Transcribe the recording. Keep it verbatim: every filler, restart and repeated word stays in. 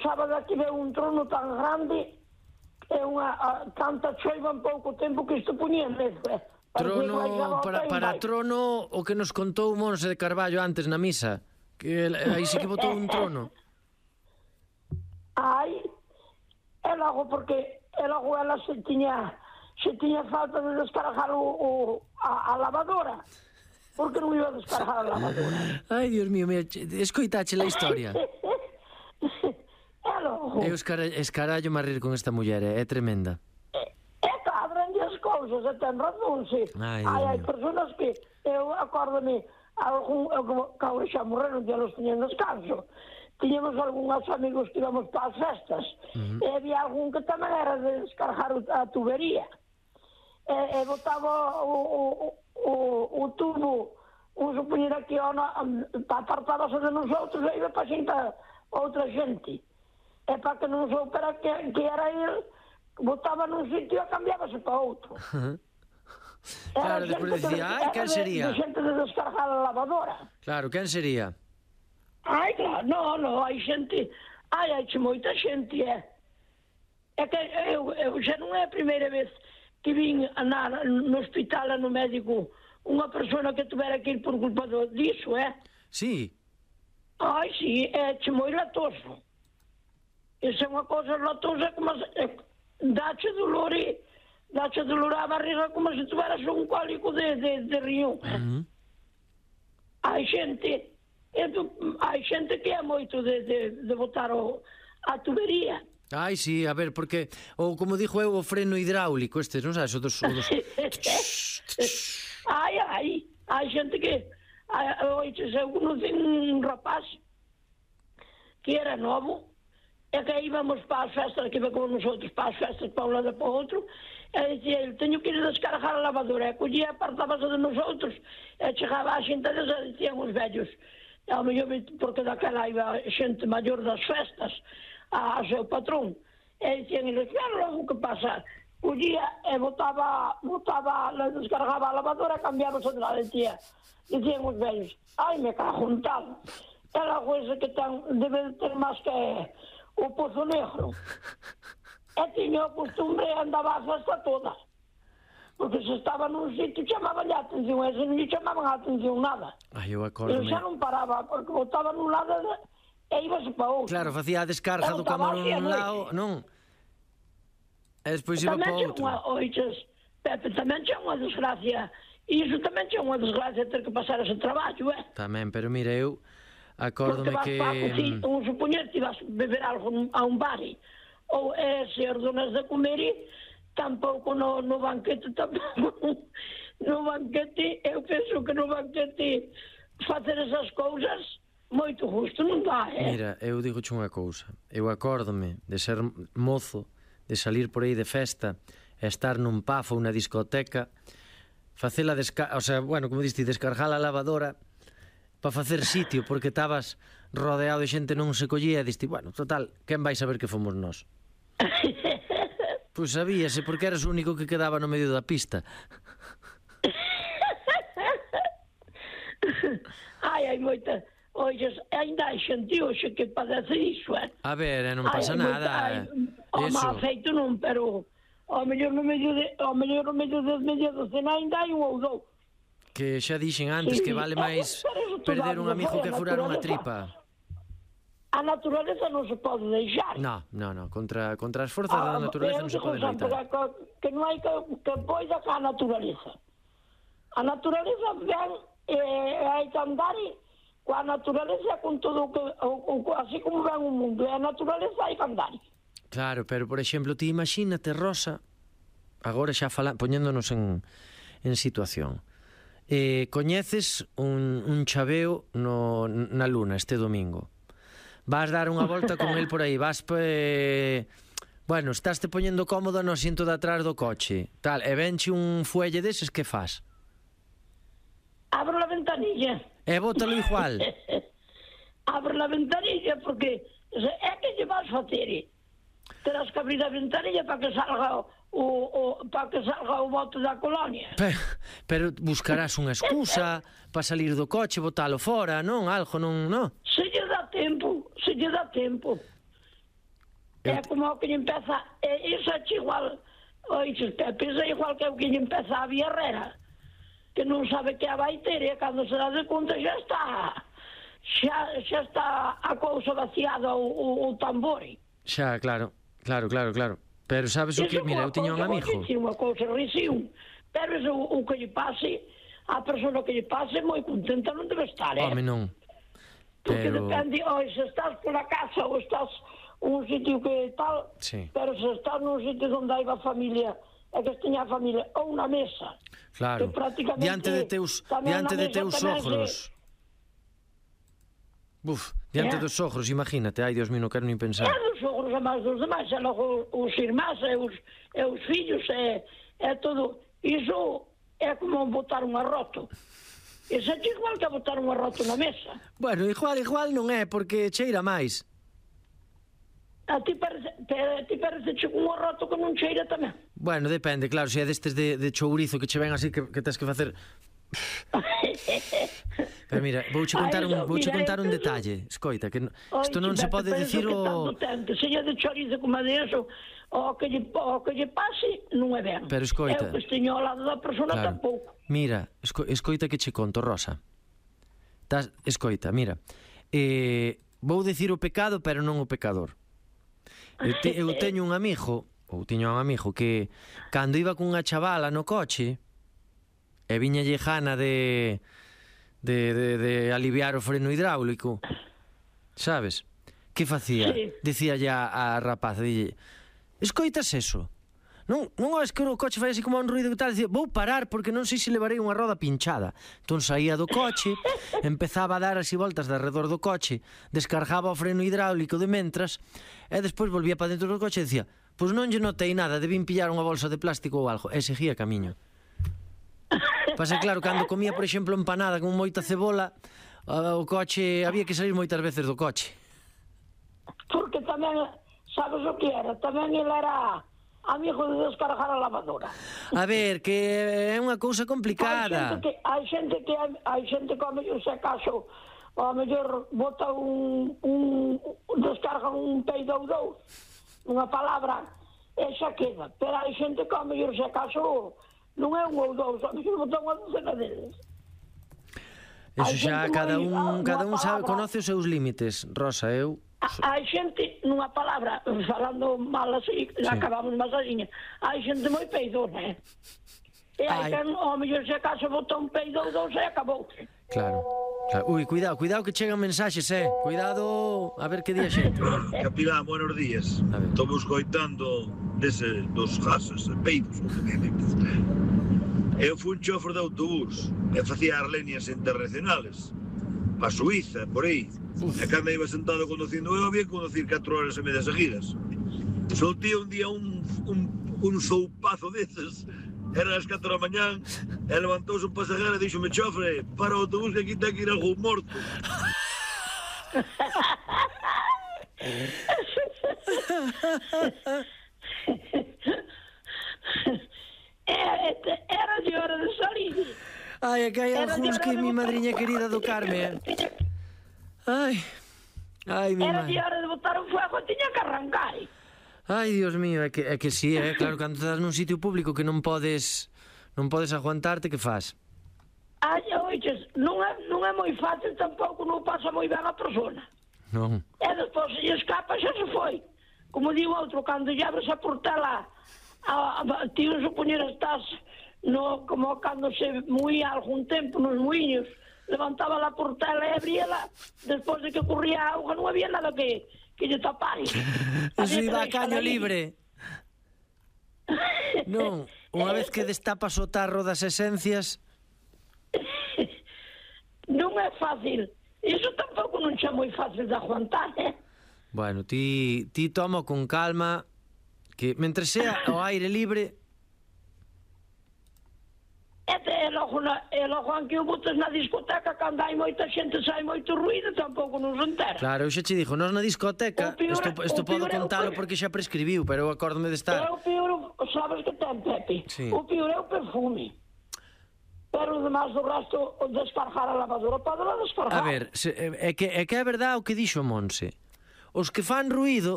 sábado aquí veo un trono tan grande e unha a, tanta choiva en pouco tempo que isto ponía medo, eh. Trono, para, para trono o que nos contou Monse de Carballo antes na misa, que aí sí que botou un trono. Ai, e logo porque e logo ela se tiña se tiña falta de descargar o, o, a, a lavadora, porque non iba a descargar a lavadora. Ai, Dios mío, mira, escoitache a historia. E logo Eu escarallo me a rir con esta muller, é tremenda. E cadran as cousas, e ten razón, sí. Ai, Ai, hai personas que eu acórdame algún, que agora xa morreron, ya los tiñen descanso. Tiñamos algúns amigos que íbamos para as festas, uh-huh. E había algún que tamén era de descargar a tubería. E, e botaba o, o, o, o tubo, un supoñer aquí, apartábase de nosotros, e iba para xente a outra xente. E para que non soupera que, que era ele, botaba nun sitio e cambiábase para outro. Uh-huh. Claro, despois decía, ai, quen sería? De xente de descargar a lavadora. Claro, quen sería? Ai, claro, no, no, hai xente, ai, hai moita xente, é. É que eu, eu xa non é a primeira vez que vin na, no hospital no médico unha persona que tuvera que ir por culpa do, disso, é? Sí. Ai, sí, é che moi latoso. Esa é unha cosa latosa como se, dache dolor e dache dolor a barriga como se tuveras un cólico de, de, de riñón. Uh-huh. Hai xente, hai xente que é moito de, de, de botar o, a tubería. Ai, sí, a ver, porque ou como dixo eu, o freno hidráulico, estes, non sabes, o dos... O dos... ai, ai, hai xente que oiches, eu conocí un rapaz que era novo e que íbamos para as festas, que iba con nosotros para as festas para un lado e para o outro, e dicía, eu teño que ir descargar a lavadora, e collía, apartábase de nosotros e chegaba a xente deles e dicían os vellos, ao mellor porque daquela iba xente maior das festas a, a seu patrón, e dicían eles, claro, logo que pasa, collía e botaba, botaba, descargaba a lavadora e cambiábase de la dicía, dicían os vellos, ai, me cago en tal, é la coisa que ten, debe ter máis que o Pozo Negro. E tiña o costumbre e andaba a festa toda. Porque se estaba nun sitio chamaban a atención, e se non lle chamaban a atención nada. Ai, eu acordo. Eu xa non paraba, porque botaba nun lado e íbase para outro. Claro, facía a descarga do camarón nun lado, non? E despois iba para outro. Oiches, Pepe, tamén xa unha desgracia. E iso tamén xa unha desgracia ter que pasar ese traballo, eh? Tamén, pero mira, eu acórdome que... Porque vas para cocinar, un supoñer que vas beber algo a un bar, ou é se ordonas de comer, tampouco no, no banquete, tampouco no banquete, eu penso que no banquete facer esas cousas moito justo, non dá, eh? Mira, eu digoche unha cousa, eu acórdome de ser mozo, de salir por aí de festa, e estar nun pub ou unha discoteca, facela desca... o sea, bueno, como diste, descargar a lavadora para facer sitio, porque estabas rodeado de xente, non se collía, e diste, bueno, total, quen vai saber que fomos nós? Pois sabíase, porque eras o único que quedaba no medio da pista. Ai, hai moita... Oixes, ainda hai xente hoxe que padece iso, eh? A ver, non pasa ai, nada. Moita, ai, o mal feito non, pero ao mellor no medio de, ao mellor no medio de media docena ainda hai un ou dous. Que xa dixen antes, sí, que vale máis perder un amigo que furar unha tripa. A naturaleza non se pode deixar. No, no, no, contra, contra as forzas ah, da naturaleza non se pode loitar. Que, que non hai que, que poida ca naturaleza. A naturaleza ven, eh, hai que andar coa naturaleza, con todo o que, o, o, así como ven o mundo, e a naturaleza hai que andar. Claro, pero, por exemplo, ti imagínate, Rosa, agora xa falan, poñéndonos en, en situación, eh, coñeces un, un chaveo no, na luna este domingo, vas dar unha volta con el por aí, vas pe... bueno, estás te poñendo cómodo no asiento de atrás do coche, tal, e venche un fuelle deses, que faz? Abro a ventanilla. E bótalo igual. Abro a ventanilla, porque é que lle vas facer? Terás que abrir a ventanilla para que salga o, o, para que salga o bote da colonia. Pero, pero buscarás unha excusa para salir do coche, botalo fora, non? Algo, non, non? Se lle dá tempo, se lle dá tempo. É como o que lle empeza, é, iso é igual, oixes, Pepe, é igual que o que lle empeza a Villarrera, que non sabe que a vai ter, e cando se dá de conta xa está, xa, xa está a cousa vaciada o, o, o tambori. Xa, claro, claro, claro, claro. Pero sabes o que, mira, eu tiña un amigo. Iso é unha cousa risión, pero iso o que lle pase, a persona que lle pase moi contenta non debe estar, eh? Home, non. Porque Pero... depende, oi, se estás pola casa ou estás un sitio que tal, sí. Pero se estás nun sitio onde hai a familia, é que teña a familia, ou na mesa. Claro, diante de teus, diante de teus sogros. Buf, diante dos sogros, imagínate, ai, Dios mío, non quero nin pensar. É dos sogros a máis dos demais, e logo os irmáns e os, e os fillos, é, é todo, iso é como botar un arroto. Iso é igual que botar un arroto na mesa. Bueno, igual, igual non é, porque cheira máis. A ti parece, ti parece che un arroto que non cheira tamén? Bueno, depende, claro, se é destes de, de chourizo que che ven así que, que tens que facer... Pero mira, vouche contar un, vouche contar un detalle, escoita, que isto non se pode dicir o... Se é de chorizo como de eso, o que lle, o que lle pase non é ben. Pero escoita... É o que esteño ao lado da persona claro. Tampouco. Mira, esco, escoita que che conto, Rosa. Tas, escoita, mira. Eh, vou dicir o pecado, pero non o pecador. Eu, te, eu teño un amigo, ou tiño un amigo, que cando iba cunha chavala no coche, e viña lejana de... De, de, de aliviar o freno hidráulico, sabes? Que facía? Sí. Dicía ya a rapaza, dille, escoitas eso? Non, non es que o coche fai así como un ruido e tal, dicía, vou parar porque non sei se levarei unha roda pinchada. Entón saía do coche, empezaba a dar así voltas de arredor do coche, descargaba o freno hidráulico de mentras, e despois volvía para dentro do coche e dicía, pois non lle notei nada, debín pillar unha bolsa de plástico ou algo, e seguía camiño. Pasa claro, cando comía, por exemplo, empanada con moita cebola, o coche, había que salir moitas veces do coche. Porque tamén, sabes o que era? Tamén ele era amigo de descargar a lavadora. A ver, que é unha cousa complicada. Hai xente que, hai xente que, hai xente que ao mellor se acaso, ao mellor bota un, un, descarga un peido ou dous, unha palabra, e xa queda. Pero hai xente que ao mellor se acaso... non é un ou dous, a mí me botan unha docena deles. Eso xa, cada un, cada un sabe, conoce os seus límites, Rosa, eu... Hai xente, nunha palabra, falando mal así, sí. Acabamos masaxiña, hai xente moi peidona, eh? E hai que, ao mellor se acaso bota un peido ou dous e acabou. Claro, claro. Ui, cuidado, cuidado que chegan mensaxes, eh? Cuidado, a ver que día xente. Capilán, buenos días. Estamos coitando dese, dos gases, peidos, o que dices. Eu fui un chofer de autobús e facía as líneas internacionales pa Suiza, por aí. E cando iba sentado conducindo eu había que conducir catro horas e media seguidas. Soltía un día un, un, un soupazo deses, eran as catro da mañán, e levantouse un pasajero e dixo-me, chofre, para o autobús que aquí ten que ir algún morto. Era de hora de salir. Ai, é que hai algúns que mi madriña querida do Carme. Ai, ai, mi Era madre. de hora de botar un fuego, tiña que arrancar. Ai, Dios mío, é que, é que sí, é claro, cando estás nun sitio público que non podes non podes aguantarte, que faz? Ai, oiches, non é, non é moi fácil tampouco, non pasa moi ben a persona. Non. E despois se lle escapa xa se foi. Como digo outro, cando lle abres a portela, a, a, ti non supoñer estás no, como cando se muía algún tempo nos muiños, levantaba a portela e abríala, despois de que corría a auga non había nada que, que lle tapar. Eso iba a caño libre. Non, unha vez que destapas o tarro das esencias... Non é fácil. Iso tampouco non xa moi fácil de aguantar, eh? Bueno, ti, ti toma con calma, que mentre sea o aire libre... E, e logo, na, e logo aunque o botes na discoteca, cando hai moita xente, sai moito ruído, tampouco non se entera. Claro, eu xa che dixo, nós na discoteca, isto, isto podo contalo porque xa prescribiu, pero eu acórdome de estar... É o pior, sabes que ten, Pepe? Sí. O pior é o perfume. Pero además do resto, o descargar a lavadora, pode la descargar. A ver, se, é, que, é que é verdade o que dixo Monse. Os que fan ruído